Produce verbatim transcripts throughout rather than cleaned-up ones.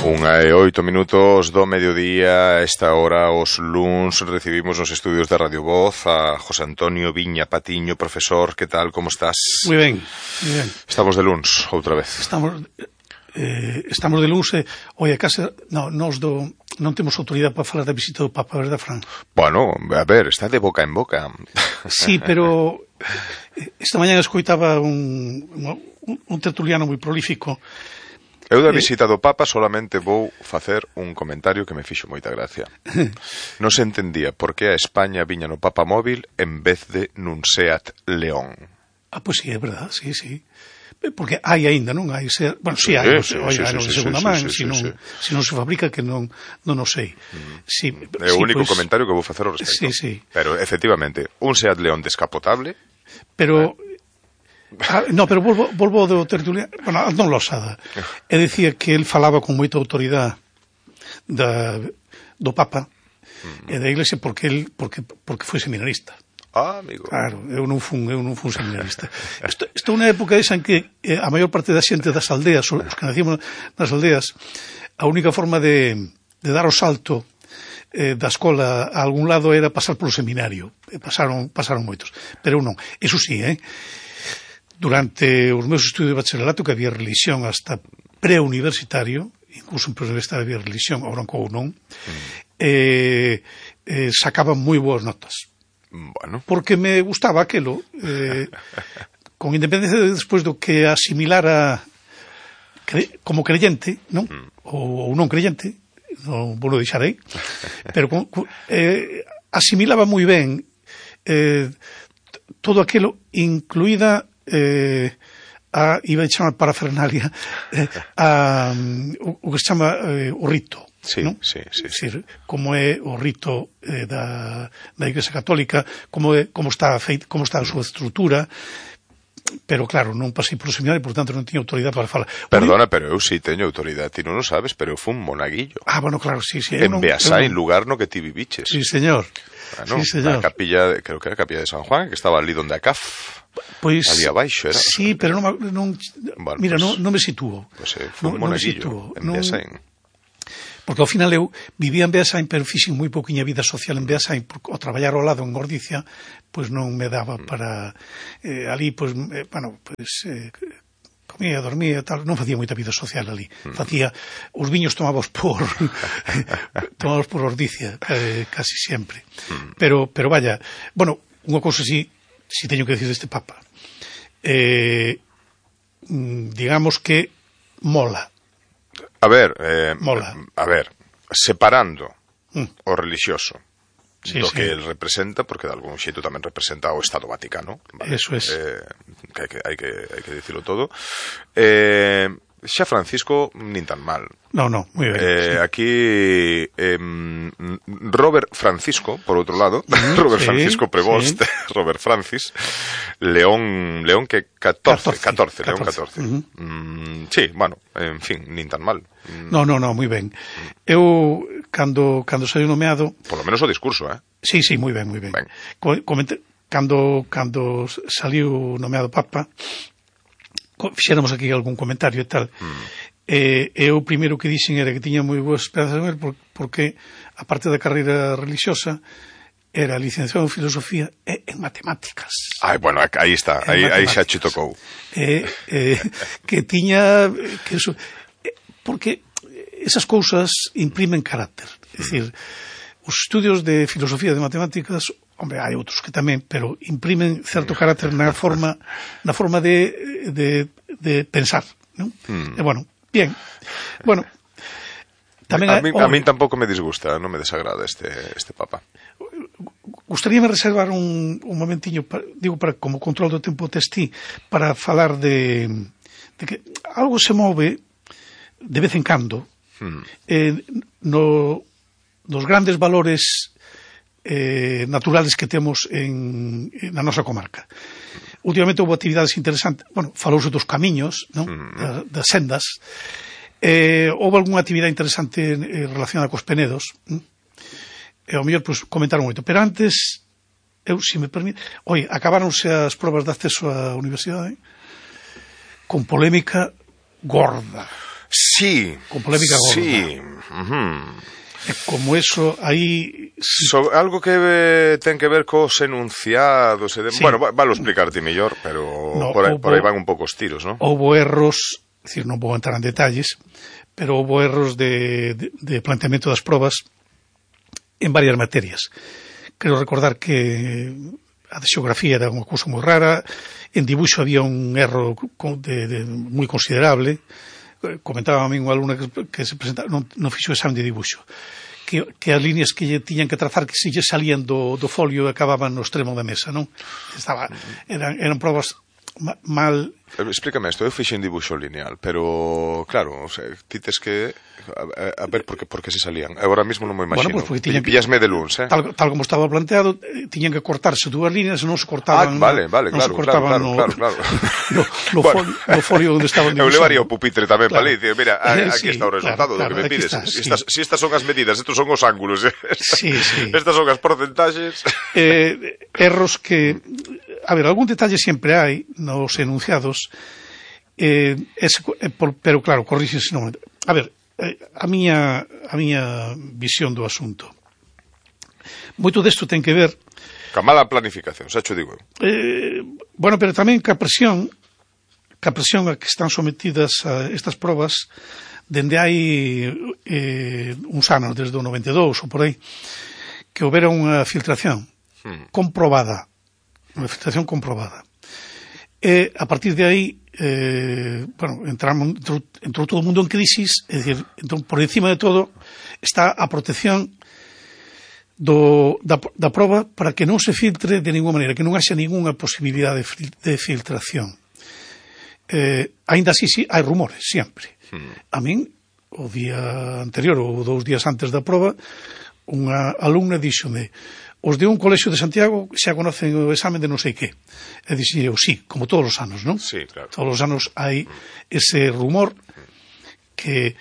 Unha e oito minutos do mediodía. A esta hora, os luns, recibimos nos estudios de Radio Voz a José Antonio Viña Patiño. Profesor, que tal, como estás? Moi ben, moi ben. Estamos de luns, outra vez. Estamos eh, estamos de luns e, oi, a casa, no, nos do, non temos autoridade para falar da visita do Papa, verdad, Fran? Bueno, a ver, está de boca en boca. Sí, pero esta mañana escoitaba un, un, un tertuliano moi prolífico. Eu da visita do Papa solamente vou facer un comentario que me fixo moita gracia. Non se entendía por que a España viña no Papa móvil en vez de nun Seat León. Ah, pois pues sí, é verdad, sí, sí. Porque hai aínda, non hai ser... Bueno, sí, hai, sí, hai, sí, hai, hai sí, de segunda sí, man, sí, sí, se non, sí. Si non se fabrica, que non, non o sei. Mm. Sí, é o sí, único pues, comentario que vou facer ao respecto. Sí, sí. Pero, efectivamente, un Seat León descapotable... Pero... Eh? Ah, no, pero volvo, volvo do tertuliano, bueno, non losada. E dicía que el falaba con moita autoridade da, do Papa mm. e da Iglesia porque el porque porque foi seminarista. Ah, amigo. Claro, eu non fun, eu non fun seminarista. Isto, isto é unha época esa en que eh, a maior parte da xente das aldeas, os que nacimos nas aldeas, a única forma de, de dar o salto eh, da escola a algún lado era pasar polo seminario. E pasaron, pasaron moitos. Pero eu non. Eso sí, eh? Durante os meus estudios de bacharelato, que había religión hasta preuniversitario, incluso en preuniversitario había religión, ahora non, mm. eh, eh, sacaban moi boas notas. Bueno. Porque me gustaba aquelo, eh, con independencia de despois do que asimilara cre, como creyente, non? Mm. Ou, ou non creyente, non vou deixar aí, pero con, eh, asimilaba moi ben eh, todo aquilo, incluída eh, a, iba a chamar parafernalia, eh, a, o, o que se chama eh, o rito. Sí, ¿no? sí, sí, sí. Decir, como é o rito eh, da, da Igrexa Católica, como, é, como, está feita, como está a súa estrutura, pero claro, non pasei por o seminario, por tanto non tiña autoridade para falar. Perdona, pero eu sí teño autoridade, ti non o sabes, pero eu fun monaguillo. Ah, bueno, claro, sí, sí. En Beasai, en lugar no que ti viviches. Sí, señor. Bueno, sí, señor. A capilla, creo que era a capilla de San Juan, que estaba ali donde a C A F. Pois, ali abaixo, era. Sí, pero non, non bueno, mira, pues, non, non me sitúo. Pois pues, eh, fun non, monaguillo, non en Beasai. Porque ao final eu vivía en Beasain, pero fixen moi pouquiña vida social en Beasain, porque ao traballar ao lado en Gordicia, pois non me daba para eh, ali, pois, eh, bueno, pois eh, comía, dormía, tal, non facía moita vida social ali. Mm. Facía, os viños tomábamos por tomábamos por Gordicia, eh, casi sempre. Mm. Pero, pero vaya, bueno, unha cousa si, si teño que decir deste Papa. Eh, digamos que mola. A ver, eh, Mola. a ver, separando mm. o religioso sí, do sí. que el representa, porque de algún xeito tamén representa o Estado Vaticano, vale? Eso es. Eh, que hai que, hai que, hai que dicirlo todo. Eh, xa Francisco nin tan mal. No, no, moi ben. Eh, sí. Aquí eh, Robert Francisco, por outro lado, mm, Robert sí, Francisco Prevost, sí. Robert Francis, León, León que catorce, catorce, León catorce. Uh-huh. Mm, sí, bueno, en fin, nin tan mal. No, no, no, moi ben. Eu, cando, cando saiu nomeado... Por lo menos o discurso, eh? Sí, sí, moi ben, moi ben. ben. Comente, cando, cando saliu nomeado Papa, fixéramos aquí algún comentario e tal, mm. eh, e o primeiro que dixen era que tiña moi boas esperanzas en él porque, aparte da carreira religiosa, era licenciado en filosofía e en matemáticas. Ai, bueno, aí está, aí, aí xa che tocou. Eh, eh, que tiña... que eso, eh, porque esas cousas imprimen carácter. É dicir, os estudios de filosofía e de matemáticas, hombre, hai outros que tamén, pero imprimen certo carácter na forma na forma de, de, de pensar, non? Mm. E bueno, bien. Bueno, tamén a, a, mí, oh, a mí tampouco me disgusta, non me desagrada este este Papa. Gustaríame reservar un, un momentiño, para, digo, para como control do tempo testí, para falar de, de que algo se move de vez en cando mm. eh, no, nos grandes valores eh, naturales que temos en, en na nosa comarca. Últimamente houve actividades interesantes, bueno, falouse dos camiños, non? Mm. Da, das sendas. Eh, houve algunha actividade interesante eh, relacionada cos penedos, non? E ao mellor, pois, comentaron moito. Pero antes, eu, se me permite... Oi, acabáronse as probas de acceso á universidade con polémica gorda. Sí. Con polémica gorda. Sí. Uh-huh. E como eso, aí... So, algo que eh, ten que ver cos enunciados e de... Sí. Bueno, valo explicarte mellor, pero no, por, aí, por aí van un pouco os tiros, non? Houbo erros, é dicir, non vou entrar en detalles, pero houbo erros de, de, de planteamento das probas en varias materias. Quero recordar que a de xeografía era unha cousa moi rara, en dibuixo había un erro de, de, moi considerable. Comentaba a mí unha alumna que, que se presentaba, non, non fixo exame de dibuixo, que, que as líneas que lle tiñan que trazar que se lle salían do, do folio e acababan no extremo da mesa, non? Estaba, eran, eran probas ma, mal... Explícame isto, eu fixen dibuixo lineal, pero claro, o sea, tites que a, a ver por que, por que se salían. Agora mesmo non me imagino. Bueno, pues Pillasme de luns, eh? Tal, tal como estaba planteado, tiñan que cortarse dúas líneas, non se cortaban... Ah, vale, vale, claro, claro, claro, no, claro, claro. No, no, bueno. folio, no folio onde estaban dibujando. Eu levaría o pupitre tamén claro. para ali, mira, aquí sí, está o resultado claro, do que me pides. Está, sí. estas, si estas son as medidas, estos son os ángulos, eh? Estas, sí, sí. estas son as porcentaxes. Eh, erros que... A ver, algún detalle sempre hai nos enunciados, eh, ese, eh, por, pero claro, corríxense non. A ver, eh, a miña a miña visión do asunto. Moito desto ten que ver ca mala planificación, xa cho digo. Eh, bueno, pero tamén ca presión, ca presión a que están sometidas a estas probas dende hai eh, uns anos, desde o noventa e dous ou por aí, que houbera unha filtración hmm. comprobada, unha filtración comprobada. E a partir de aí eh, bueno, entramos, entrou, entrou todo o mundo en crisis, é dicir, entón, por encima de todo está a protección do, da, da proba para que non se filtre de ninguna maneira, que non haxa ninguna posibilidade de, de filtración. Eh, ainda así, sí, hai rumores, sempre. Hmm. A min, o día anterior ou dous días antes da proba, unha alumna díxome: os de un colexio de Santiago xa conocen o exame de non sei que. E dixen eu, sí, como todos os anos, non? Sí, claro. Todos os anos hai ese rumor que,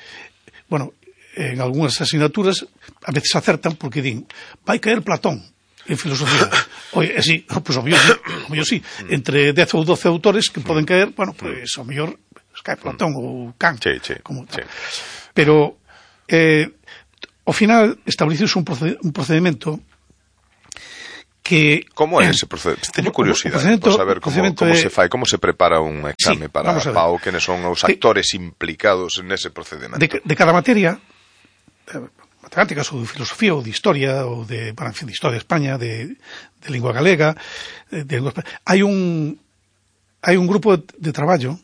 bueno, en algunhas asignaturas a veces acertan porque din, vai caer Platón en filosofía. Oye, é sí, pois o mellor sí, o mellor sí. Entre dez ou doce autores que poden caer, bueno, pois o mellor cae Platón ou Kant. Sí, sí, como sí. Pero, eh, ao final, estableciuse un, proced un procedimento que... Como é ese procedimento? Teño curiosidade por saber como, como se fai, como se prepara un exame sí, para P A O, quenes son os actores que, implicados nese procedimento. De, de cada materia, de matemáticas ou de filosofía ou de historia, ou de, bueno, en fin, de historia de España, de, de lingua galega, de, de lingua española, hai un, hai un grupo de, de traballo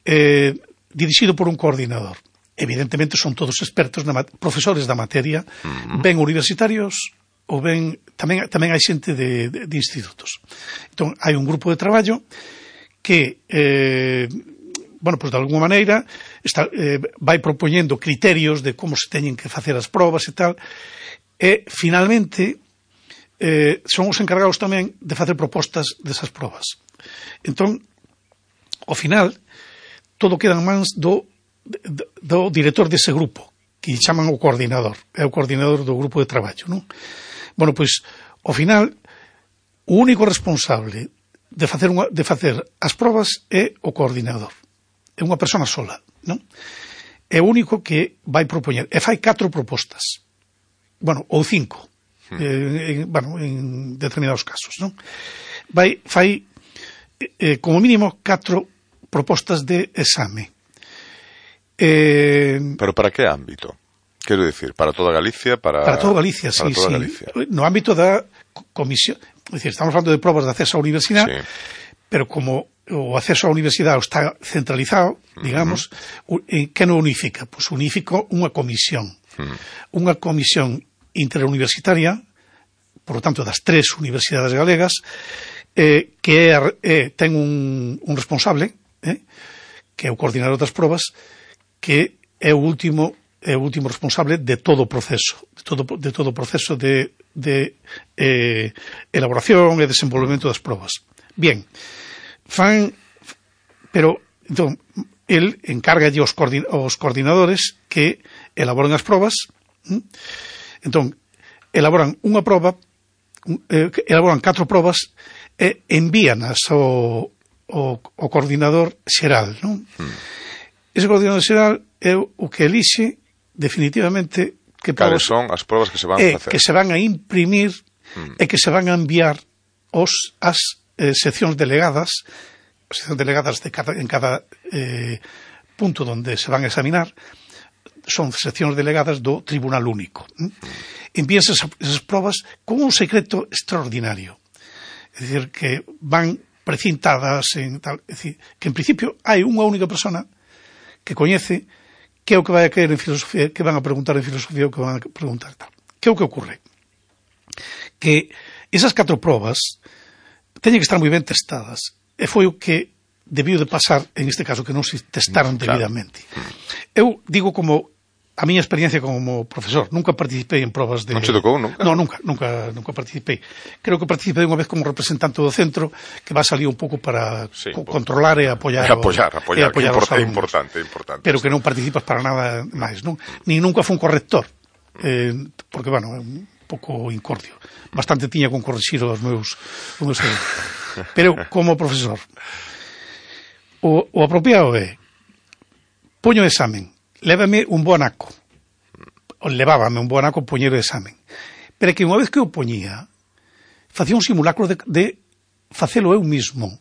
eh, dirixido por un coordinador. Evidentemente son todos expertos, na, profesores da materia, uh-huh. ben universitarios, ou ben, tamén, tamén hai xente de, de, de institutos. Entón, hai un grupo de traballo que, eh, bueno, pois pues, de alguma maneira, está, eh, vai propoñendo criterios de como se teñen que facer as probas e tal, e, finalmente, eh, son os encargados tamén de facer propostas desas probas. Entón, ao final, todo queda en mans do, do, do director dese grupo, que chaman o coordinador, é o coordinador do grupo de traballo, non? Bueno, pois, ao final, o único responsable de facer, unha, de facer as probas é o coordinador. É unha persona sola, non? É o único que vai propoñer. E fai catro propostas. Bueno, ou cinco. Hmm. Eh, en, bueno, en determinados casos, non? Vai, fai, eh, como mínimo, catro propostas de exame. Eh, Pero para que ámbito? Quero dicir, para toda Galicia, para... Para toda Galicia, para sí, toda sí. Galicia. No ámbito da comisión, é dicir, estamos falando de probas de acceso á universidade, sí. Pero como o acceso á universidade está centralizado, digamos, uh-huh. que non unifica? Pois unifica unha comisión. Uh-huh. Unha comisión interuniversitaria, por lo tanto, das tres universidades galegas, eh, que é, eh, ten un, un responsable, eh, que é o coordinador das probas, que é o último é o último responsable de todo o proceso, de todo, de todo o proceso de, de eh, elaboración e desenvolvemento das probas. Bien, fan, pero, entón, el encárgalle aos, coordin, aos coordinadores que elaboren as probas, ¿m? Entón, elaboran unha proba, eh, elaboran catro probas e envíanas ao, ao, ao coordinador xeral, non? Hmm. Ese coordinador xeral é o que elixe definitivamente que cales son as probas que se van a facer. Que se van a imprimir mm. e que se van a enviar os, as eh, seccións delegadas, seccións delegadas de cada, en cada eh, punto onde se van a examinar, son seccións delegadas do Tribunal Único. Mm. Envíanse esas, esas probas con un secreto extraordinario. É dicir, que van precintadas en tal, é dicir, que en principio hai unha única persona que coñece que é o que vai a caer en filosofía, que van a preguntar en filosofía, o que van a preguntar tal. Que é o que ocorre? Que esas catro probas teñen que estar moi ben testadas. E foi o que debiu de pasar en este caso, que non se testaron debidamente. Eu digo como a miña experiencia como profesor, nunca participei en probas de... Non se tocou, nunca? Non, nunca, nunca, nunca participei. Creo que participei unha vez como representante do centro, que va a salir un pouco para sí, co controlar e apoiar... E apoiar, o, apoiar, e apoiar que é importante, importante. Pero que non participas para nada máis, non? Ni nunca fui un corrector, eh, porque, bueno, é un pouco incordio. Bastante tiña con corrixir os meus... Os meus Pero, como profesor, o, o apropiado é poño o examen, lévame un bo anaco, o levábame un bo anaco poñer o examen, pero que unha vez que o poñía facía un simulacro de, de facelo eu mismo,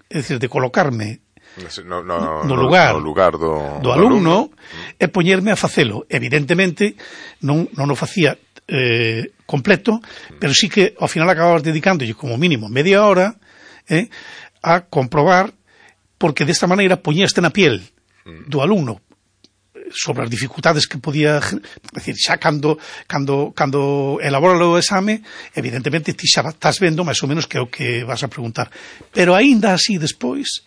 é dicir, de colocarme no, no, no lugar, no lugar do, do alumno, do alumno e poñerme a facelo. Evidentemente non, non o facía eh, completo, pero sí que ao final acababas dedicándolle como mínimo media hora eh, a comprobar, porque desta maneira poñíaste na piel do alumno sobre as dificultades que podía, é dicir, xa cando, cando, cando elabora o exame, evidentemente ti xa estás vendo máis ou menos que é o que vas a preguntar. Pero aínda así despois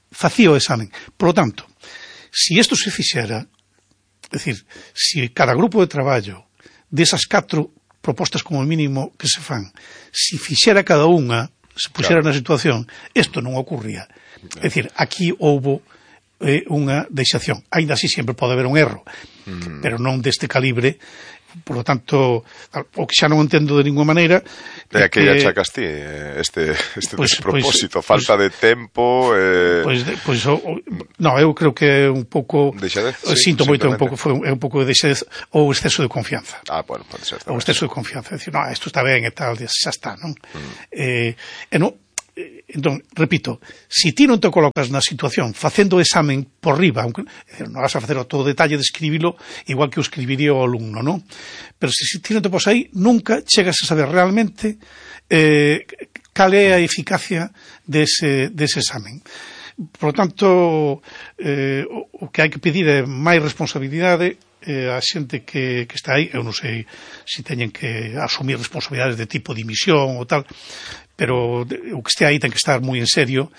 facía o examen. Por lo tanto, si isto se fixera, é dicir, si cada grupo de traballo desas catro propostas como mínimo que se fan, si fixera cada unha, se puxera claro. Na situación, isto non ocurría. É dicir, aquí houbo é unha deixación. Ainda así sempre pode haber un erro, mm. pero non deste calibre. Por lo tanto, o que xa non entendo de ninguna maneira é que ya achacas ti este, este pues, despropósito, pues, falta pues, de tempo eh... pois, pues, pues, o, no, eu creo que é un pouco deixadez, sí, sinto moito, un pouco, foi un, é un pouco de deixadez ou exceso de confianza. Ah, bueno, pode ser ou exceso de confianza, decir, no, isto está ben e tal, xa está, non? Mm. Eh, e non entón, repito, se si ti non te colocas na situación facendo o examen por riba, aunque non vas a facer todo o detalle de escribilo igual que o escribiría o alumno, non? Pero se si ti non te pos aí, nunca chegas a saber realmente eh, cal é a eficacia dese, dese examen. Por lo tanto, eh, o que hai que pedir é máis responsabilidade eh, a xente que, que está aí. Eu non sei se teñen que asumir responsabilidades de tipo de dimisión ou tal, pero o que este aí ten que estar moi en serio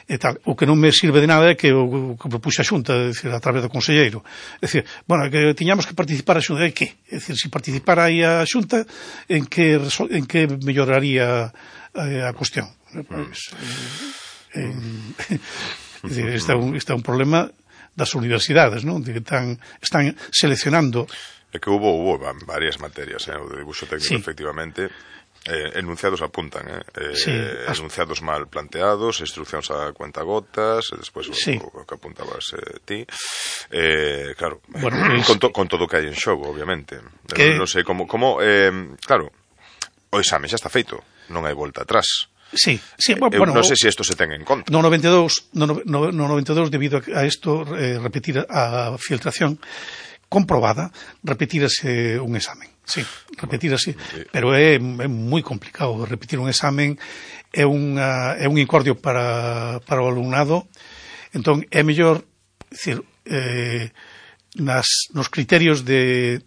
e tal. O que non me sirve de nada é que o que propuxe a Xunta, é dicir, a través do conselleiro. É dicir, bueno, que tiñamos que participar a Xunta, é que? É dicir, se participara aí a Xunta, en que, en que melloraría eh, a cuestión? Pues, eh, en, é dicir, este é un, este é un problema das universidades, non? De que están, están seleccionando. É que hubo, hubo varias materias, eh, o de dibuixo técnico, sí. Efectivamente. Eh, enunciados apuntan, eh? Eh, sí, as... enunciados mal planteados, instruccións a cuentagotas, e despois sí. o, o que apuntabas eh, ti. Eh, claro, bueno, pues... con, to, con todo o que hai en xogo, obviamente. Que... Non sei como, como eh, claro, o exame xa está feito, non hai volta atrás. Sí, sí, bueno, Eu non sei se isto se ten en conta. No noventa e dous, no, no, no noventa e dous, debido a isto, eh, repetir a filtración comprobada, repetirase un examen. Sí, repetirase, pero é, é moi complicado repetir un examen, é, unha, é un incordio para, para o alumnado. Entón é mellor, decir, eh, nas, nos criterios de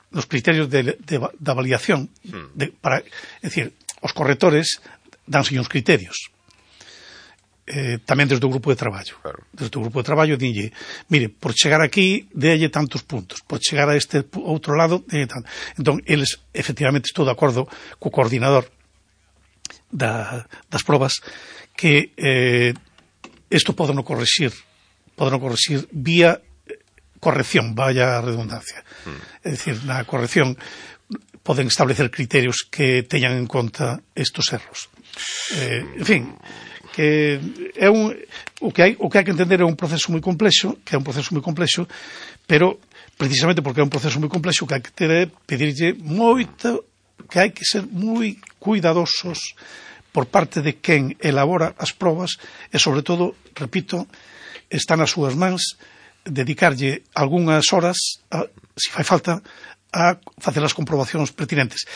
nos criterios de, de, de avaliación de, para, é dicir, os correctores danse uns criterios. Eh, tamén desde o grupo de traballo. Claro. Desde o grupo de traballo dinlle, mire, por chegar aquí délle tantos puntos, por chegar a este outro lado délle tanto. Entón, eles, efectivamente, estou de acordo co coordinador da, das probas que eh, isto pode non correxir pode non correxir vía corrección, vaya a redundancia. Mm. É dicir, na corrección poden establecer criterios que teñan en conta estos erros. Eh, en fin, que é un o que hai o que hai que entender é un proceso moi complexo, que é un proceso moi complexo, pero precisamente porque é un proceso moi complexo, que hai que ter é pedirlle moito, que hai que ser moi cuidadosos por parte de quen elabora as probas e, sobre todo, repito, está nas súas mans dedicarlle algunhas horas, a, se fai falta, a facer as comprobacións pertinentes.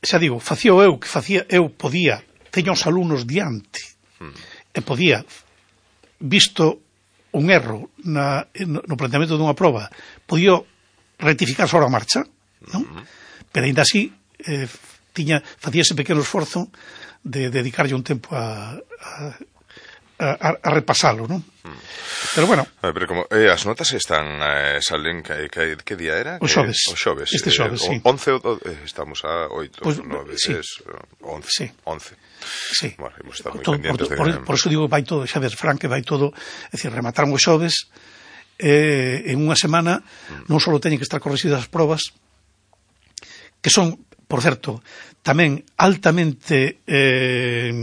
Xa digo, facía eu que facía, eu podía, teño os alumnos diante, e podía, visto un erro na, no planteamento dunha proba, podía rectificar sobre a marcha, non? Pero ainda así, eh, tiña, facía ese pequeno esforzo de dedicarlle un tempo a, a, a, a repasalo, non? Mm. Pero bueno... A ver, pero como, eh, as notas están, eh, salen, que, que, que día era? O xoves. Eh, o xoves. Este xoves, eh, sí. once, eh, estamos a oito, pues, nove, sí. dez, once. Sí. once. Sí. Bueno, hemos estado moi todo, pendientes por, de... por, por eso digo, vai todo, xa ves, Fran, que vai todo, é dicir, remataron os xoves, eh, en unha semana, mm. non só teñen que estar corrixidas as probas, que son, por certo, tamén altamente eh,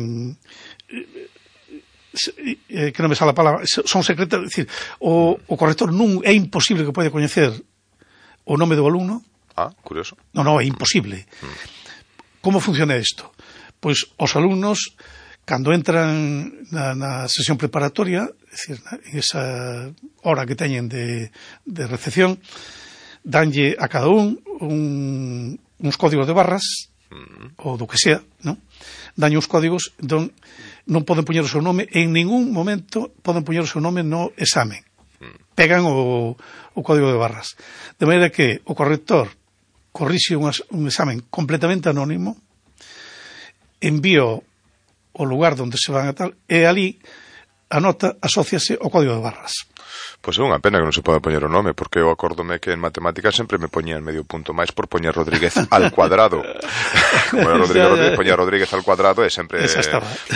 eh, que non me sale a palabra, son secretas, é dicir, o, o corrector non é imposible que pode coñecer o nome do alumno. Ah, curioso. Non, non, é imposible. Mm. Como funciona isto? Pois os alumnos, cando entran na, na sesión preparatoria, é dicir, en esa hora que teñen de, de recepción, danlle a cada un, un uns códigos de barras, mm. ou do que sea, non? Danlle uns códigos, entón non poden poñer o seu nome, en ningún momento poden poñer o seu nome no examen. Mm. Pegan o, o código de barras. De maneira que o corrector corrixe un, un examen completamente anónimo, envío o lugar onde se van a tal, e ali a nota asóciase ao código de barras. Pois é unha pena que non se poda poñer o nome, porque eu acórdome que en matemáticas sempre me poñían medio punto máis por poñer Rodríguez al cuadrado. Como era Rodríguez, Rodríguez, poñer Rodríguez al cuadrado e sempre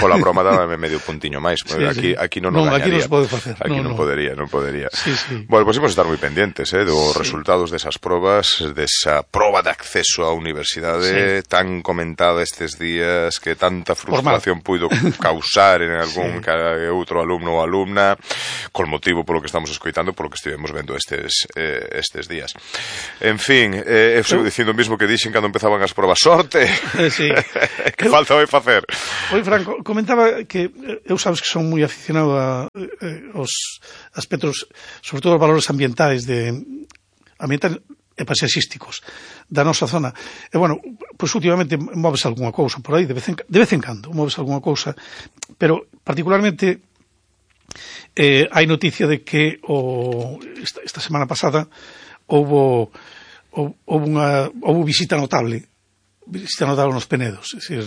pola broma dábame medio puntiño máis. Sí, aquí, sí. aquí non o non, gañaría. Aquí non se pode facer. Aquí non, non, non podería, non podería. Sí, sí. Bueno, pois pues imos estar moi pendientes, eh, dos sí. resultados desas probas, desa proba de acceso á universidade sí. tan comentada estes días, que tanta frustración puido causar en algún sí. outro alumno ou alumna, con motivo polo que estamos escoitando, polo que estivemos vendo estes eh, estes días. En fin, eh, eu sigo dicindo o mismo que dixen cando empezaban as probas. Sorte! Sí. Que falta vai facer? Oi, Franco, comentaba que eu sabes que son moi aficionado a eh, os aspectos, sobre todo os valores ambientais de ambientais e paisaxísticos da nosa zona. E, bueno, pois últimamente moves algunha cousa por aí, de vez en, de vez en cando moves algunha cousa, pero particularmente eh, hai noticia de que o, esta, esta semana pasada houbo, houbo, unha, houbo visita notable visita notable nos Penedos, é dicir,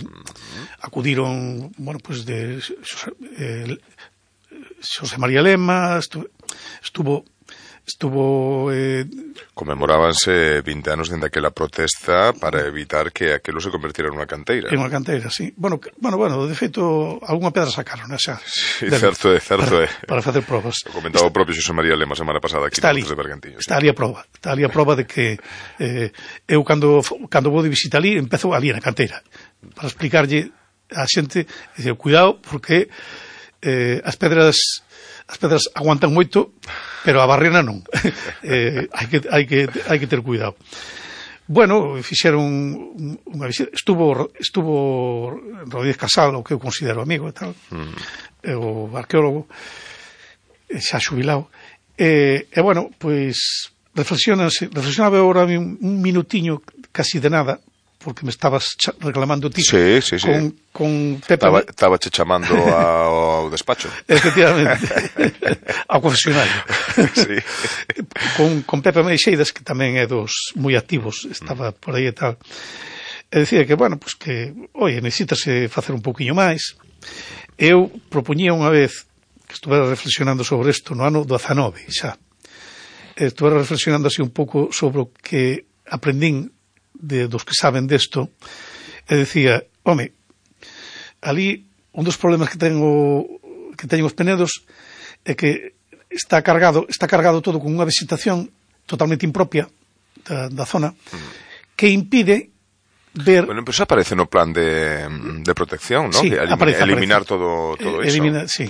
acudiron, bueno, pues de Xosé, eh, Xosé María Lema, estuvo, estuvo estuvo eh... conmemorábanse vinte anos dende aquela protesta para evitar que aquilo se convertira nunha canteira. En unha canteira, sí. Bueno, que, bueno, bueno, de feito, algunha pedra sacaron, xa. Sí, de, certo é, certo é. Para, para facer probas. O comentaba o propio Xosé María Lema semana pasada aquí está ali, de Bergantiños. Está ali a prova. Está ali a prova de que eh, eu cando cando vou de visita ali, empezo ali na canteira para explicarlle á xente, dice, cuidado porque eh, as pedras as pedras aguantan moito, pero a barrena non. eh, hai que hai que hai que ter cuidado. Bueno, fixeron unha visita, estuvo estuvo Rodríguez Casal, o que eu considero amigo e tal. Mm. O arqueólogo xa xubilado. E, e bueno, pois reflexionase, reflexionaba agora un, un minutiño casi de nada, porque me estabas reclamando ti sí, sí, sí. con, con Pepe... Estaba, estaba che chamando ao despacho. Efectivamente. Ao confesionario. Sí. Con, con Pepe Meixeiras, que tamén é dos moi activos, estaba por aí e tal. E dicía que, bueno, pues que, oye, necesítase facer un pouquiño máis. Eu propoñía unha vez que estuvera reflexionando sobre isto no ano dezanove, xa. Estuvera reflexionando así un pouco sobre o que aprendín de dos que saben desto, e decía, home, ali un dos problemas que tengo que teñen os Penedos é que está cargado está cargado todo con unha vegetación totalmente impropia da, da zona, que impide ver... Bueno, pero eso aparece no plan de, de protección, ¿no? Sí, Elim aparece, eliminar aparece. todo, todo eh, iso. Elimina, sí.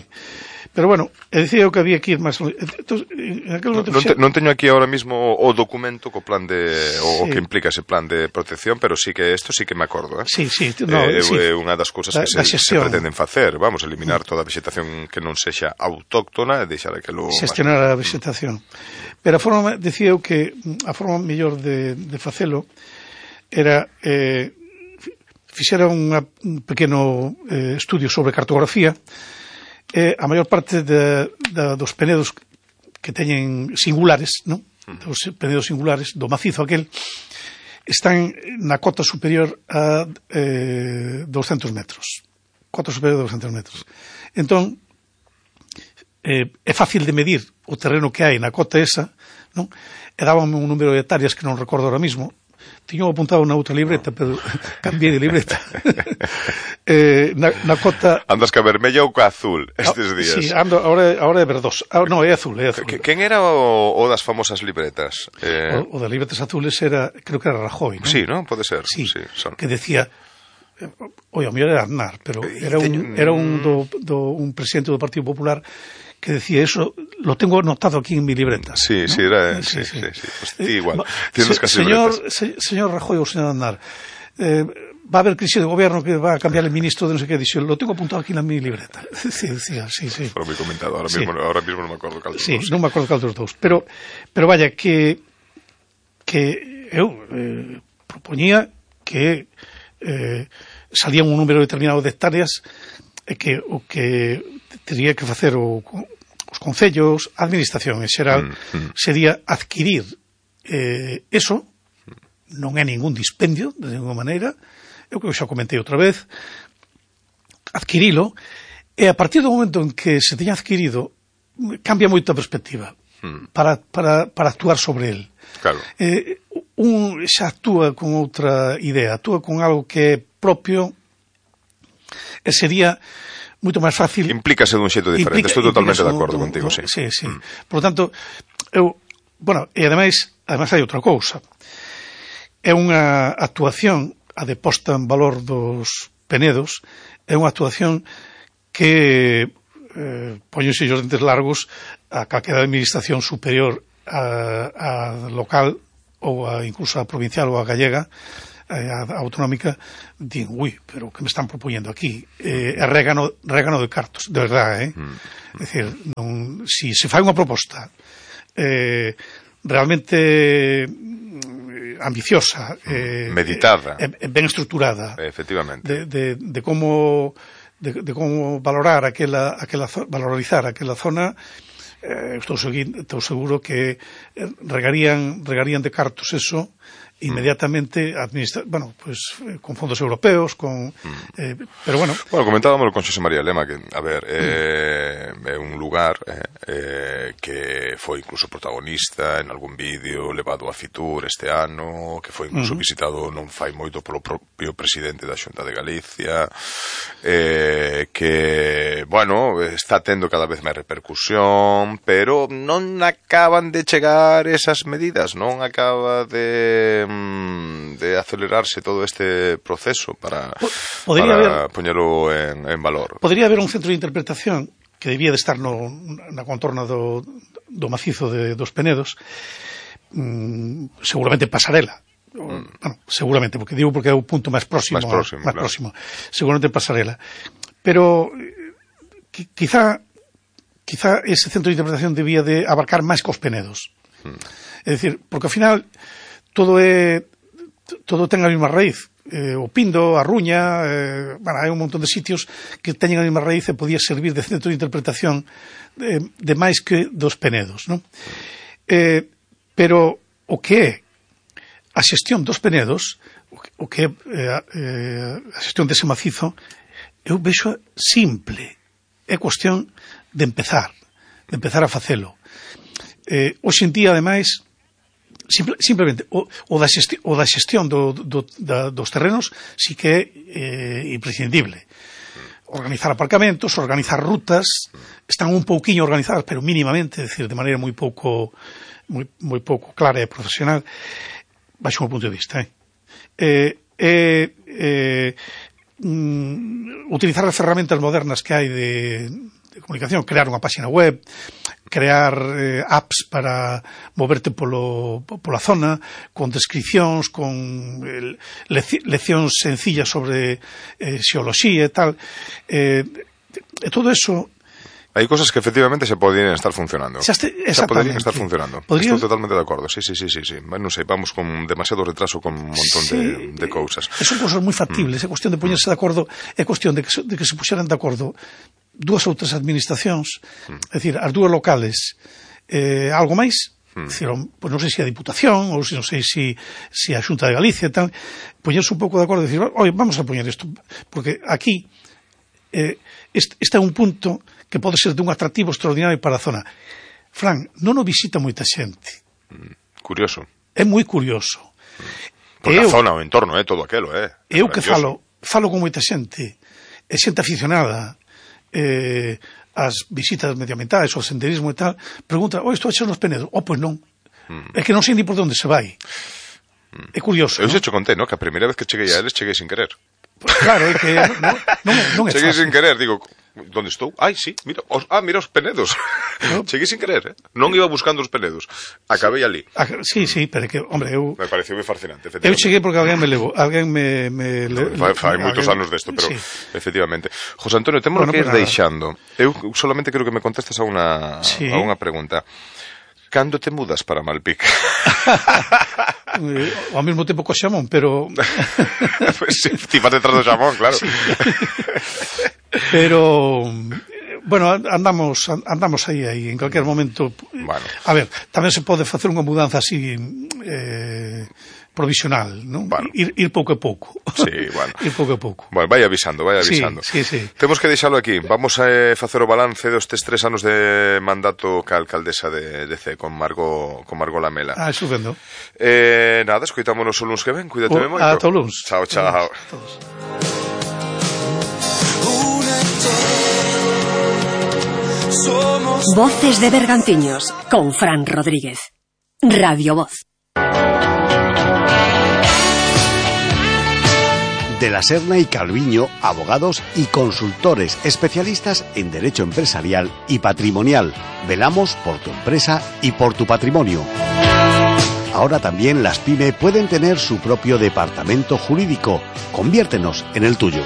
Pero bueno, decía eu que había que ir máis... Entonces, en aquel non, non, te, non teño aquí ahora mismo o documento co plan de... o, sí. o que implica ese plan de protección, pero sí que esto sí que me acordo, eh? Sí, sí. No, eh, sí. É unha das cousas que se, se pretenden facer, vamos, eliminar toda a vegetación que non sexa autóctona e deixar aquilo... Xestionar a vegetación. Pero a forma, decía eu que a forma mellor de, de facelo era... Eh, fixera unha, un pequeno eh, estudio sobre cartografía. Eh, a maior parte de, de, dos penedos que teñen singulares, non? Dos penedos singulares do macizo aquel están na cota superior a eh, doscientos metros. Cota superior a doscientos metros. Entón, eh, é fácil de medir o terreno que hai na cota esa, non? E dábame un número de hectáreas que non recordo ahora mismo. Tiño apuntado na outra libreta, pero cambiei de libreta. eh, na, na cota... Andas ca vermella ou ca azul estes días? Sí, ando, ahora, ahora é verdoso. Ah, no, é azul, é azul. Quen era o, o das famosas libretas? Eh... O, o das libretas azules era, creo que era Rajoy, non? Sí, non? Pode ser. Sí, sí son. Que decía... Oi, o mellor era Aznar, pero era un, era un, do, do, un presidente do Partido Popular que decía eso, lo tengo anotado aquí en mi libreta. Sí, ¿no? sí, era, sí, sí, sí, sí. Pues ti igual, tienes se, casi señor, libretas. Se, señor Rajoy ou señor Aznar, eh, va a haber crisis de gobierno que va a cambiar el ministro de no sé qué, dice, lo tengo apuntado aquí en mi libreta. Sí, decía, sí, sí. Fue muy comentado, ahora, sí. mismo, ahora mismo non me acordo cal dos sí, dos. Sí, non me acordo cal dos dous, pero, pero vaya, que, que eu eh, propoñía que eh, salía un número determinado de hectáreas e que o que teria que facer o os concellos, a administración en xeral, mm, mm. sería adquirir eh, eso, non é ningún dispendio, de ninguna maneira, eu que xa comentei outra vez, adquirilo, e a partir do momento en que se teña adquirido, cambia moito a perspectiva mm. para, para, para actuar sobre el. Claro. Eh, un xa actúa con outra idea, actúa con algo que é propio, e sería moito máis fácil. Implícase dun xeito diferente, implica, estou totalmente de acordo un, contigo, sí. Sí, sí. Mm. Por lo tanto, eu, bueno, e ademais, ademais hai outra cousa. É unha actuación, a de posta en valor dos penedos, é unha actuación que eh, poñense os dentes largos a calquera administración superior a, a local ou a, incluso a provincial ou a gallega, a autonómica, din, ui, pero que me están propoñendo aquí? Eh, é régano, régano de cartos, de verdade, eh? Mm. É dicir, non, si se fai unha proposta eh, realmente ambiciosa, eh, meditada, eh, eh, ben estruturada, efectivamente, de, de, de como de, de como valorar aquela, aquela valorizar aquela zona, eh, estou, segui, estou seguro que regarían, regarían de cartos eso inmediatamente administra bueno, pues eh, con fondos europeos, con eh, pero bueno. Bueno, comentábamos con Xosé María Lema que, a ver, é eh, un lugar eh, eh, que foi incluso protagonista en algún vídeo levado a Fitur este ano, que foi incluso uh -huh. visitado non fai moito polo propio presidente da Xunta de Galicia, eh, que, bueno, está tendo cada vez máis repercusión, pero non acaban de chegar esas medidas, non acaba de de acelerarse todo este proceso para, para haber, poñelo en, en valor. Podría haber un centro de interpretación que debía de estar no, na contorna do, do macizo de, dos Penedos, mm, seguramente Pasarela. Mm. Bueno, seguramente, porque digo porque é o punto máis próximo, máis próximo, máis claro. próximo. Seguramente Pasarela. Pero qui, quizá quizá ese centro de interpretación debía de abarcar máis que os Penedos. Mm. É dicir, porque ao final todo é todo ten a mesma raíz, eh, o Pindo, a Ruña, eh, bueno, hai un montón de sitios que teñen a mesma raíz e podía servir de centro de interpretación de, de máis que dos Penedos, non? Eh, pero o que é a xestión dos Penedos, o que é eh, a xestión dese macizo, eu vexo simple, é cuestión de empezar, de empezar a facelo. Eh, hoxe en día, ademais, Simple, simplemente o, o, da xestión, o da xestión do, do, da, dos terrenos sí que é eh, imprescindible. Organizar aparcamentos, organizar rutas, están un pouquiño organizadas, pero mínimamente, é dicir, de maneira moi pouco moi, moi pouco clara e profesional, baixo o meu punto de vista. Eh? Eh, é eh, mm, utilizar as ferramentas modernas que hai de, de comunicación, crear unha página web, crear eh, apps para moverte polo, pola zona, con descripcións, con eh, leci leccións sencillas sobre eh, xeoloxía e tal. Eh, e todo eso... Hai cosas que efectivamente se podrían estar funcionando. Xa este, xa podrían estar funcionando. Podrían... Estou totalmente de acordo. Sí, sí, sí, sí, sí. Non sei, vamos con demasiado retraso con un montón sí, de, de cousas. Son cosas moi factibles. Mm. É cuestión de poñerse de acordo, é cuestión de que, de que se puxeran de acordo dúas ou tres administracións, mm. é dicir, as dúas locales, eh, algo máis, mm. dicir, pues non sei se a Diputación ou se non sei se si, si a Xunta de Galicia e tal, poñerse un pouco de acordo e dicir, oi, vamos a poñer isto, porque aquí eh, este, este é un punto que pode ser dun atractivo extraordinario para a zona. Fran, non o visita moita xente. Mm, curioso. É moi curioso. Mm. Porque eu, a zona, o entorno, é eh, todo aquelo, é. Eh, eu que falo, falo con moita xente, é xente aficionada, eh, as visitas medioambientais, o senderismo e tal, pregunta, oh, estou a echar nos Penedos? Oh, pois non. Mm. É que non sei ni por onde se vai. Mm. É curioso. Eu ¿no? xe te contei, ¿no? Que a primeira vez que cheguei a eles, cheguei sin querer. Pues claro, é que non, non, non é cheguei fácil. sin querer, digo, onde estou? Ai, sí, mira, os, ah, mira os Penedos. No. Cheguei sin querer, eh? Non iba buscando os Penedos. Acabei ali. Sí, sí, pero que, hombre, eu... Me pareceu moi fascinante, efectivamente. Eu cheguei porque alguén me levou, alguén me... me le, fai fai moitos anos desto, pero, sí. efectivamente. José Antonio, temos bueno, que ir pues deixando. Eu solamente quero que me contestes a unha, sí. a unha pregunta. Cando te mudas para Malpica? Ao mesmo tempo co Xamón, pero... pues sí, ti vas detrás do Xamón, claro. Sí. Pero... Bueno, andamos andamos aí, aí, en calquer momento. Bueno. A ver, tamén se pode facer unha mudanza así eh, provisional, non? Bueno. Ir, ir pouco a pouco. Sí, bueno. Ir pouco a pouco. Bueno, vai avisando, vai avisando. Sí, sí, sí. Temos que deixalo aquí. Vamos a eh, facer o balance destes tres anos de mandato ca alcaldesa de, de C, con Margot, con Margot Lamela. Ah, estupendo. Eh, nada, escoitámonos o luns que ven. Cuídate oh, moito. Ata o luns. Chao, chao. Todos. Voces de Bergantiños, con Fran Rodríguez. Radio Voz. De la Serna y Calviño, abogados y consultores especialistas en derecho empresarial y patrimonial. Velamos por tu empresa y por tu patrimonio. Ahora también las PYME pueden tener su propio departamento jurídico. Conviértenos en el tuyo.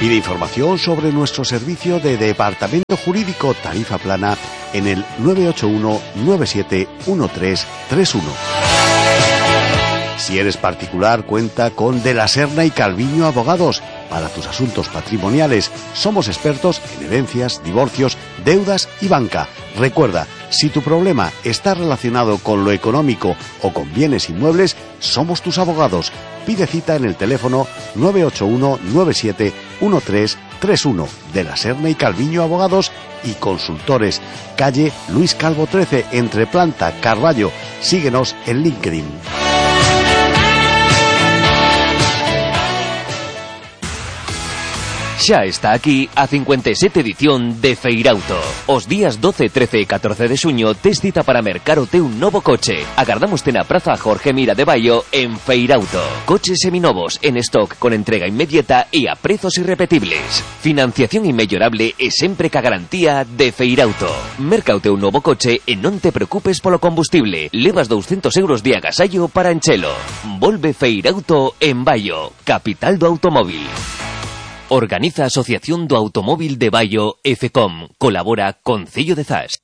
Pide información sobre nuestro servicio de departamento jurídico tarifa plana en el nueve ocho uno nueve siete uno tres tres uno. Si eres particular, cuenta con De la Serna y Calviño Abogados. Para tus asuntos patrimoniales, somos expertos en herencias, divorcios, deudas y banca. Recuerda, si tu problema está relacionado con lo económico o con bienes inmuebles, somos tus abogados. Pide cita en el teléfono nueve ocho uno nueve siete uno tres tres uno. De la Serna y Calviño Abogados y Consultores. Calle Luis Calvo trece, entre Planta, Carballo. Síguenos en LinkedIn. Xa está aquí a cincuenta e sete edición de Feirauto. Os días doce, trece e catorce de xuño tes cita para mercar o teu novo coche. Agardámoste na Praza Jorge Mira de Baio en Feirauto. Coches seminovos en stock con entrega inmediata e a prezos irrepetibles. Financiación inmellorable e sempre ca garantía de Feirauto. Merca o teu novo coche e non te preocupes polo combustible. Levas doscientos euros de agasallo para enchelo. Volve Feirauto en Baio, capital do automóvil. Organiza a Asociación do Automóvil de Baio e FECOM. Colabora Concello de Zas.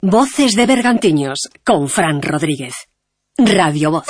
Voces de Bergantiños, con Fran Rodríguez. Radio Voz.